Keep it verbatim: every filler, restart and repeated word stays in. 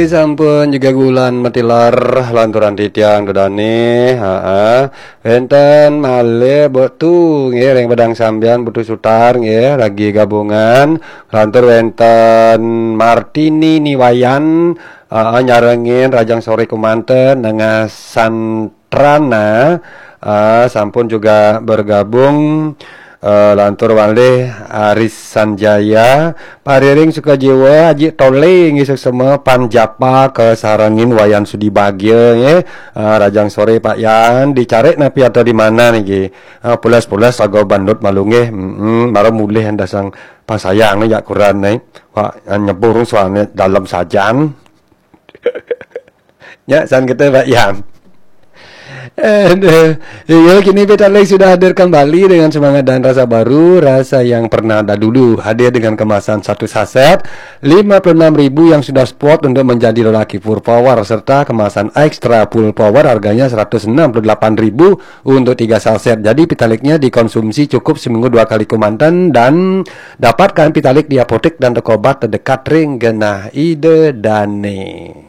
Sampun juga gulan matilar lanturan titiang Ida dane. Heeh. Wenten malih Mbok Tu nggih ring Padang Sambian, Putu Sutar nggih lagi gabungan. Lantur wenten Martini Niwayan, heeh, nyarengin rahajeng sore kemanten, Nengah Santrana, heeh, sampun juga bergabung. Eh, lantur malih Aris Sanjaya, Pak Riring Sukajiwa, Haji Tole nggih suksma, Pan Japa kasarengin Wayan Sudi Bagia nggih. Eh, rahajeng sore Pak Yan, dicarik napi atau di mana niki? Eh, pulas-pulas saga bandut malu nggih. Mm-mm, mara mulih dasang pasayang jak kuran nih. Pak, eh, nyebur soalnya dalam sajan. Ya, san kita Pak Yan. Aduh. Iya, kini Petaling sudah hadir kembali dengan semangat dan rasa baru, rasa yang pernah ada dulu. Hadir dengan kemasan satu saset, lima puluh enam ribu yang sudah spot untuk menjadi lelaki full power, serta kemasan extra full power harganya seratus enam puluh delapan ribu untuk tiga saset. Jadi Petaliknya dikonsumsi cukup seminggu dua kali kemanten dan dapatkan Petalik di apotek dan toko obat terdekat ring genah Ida dane.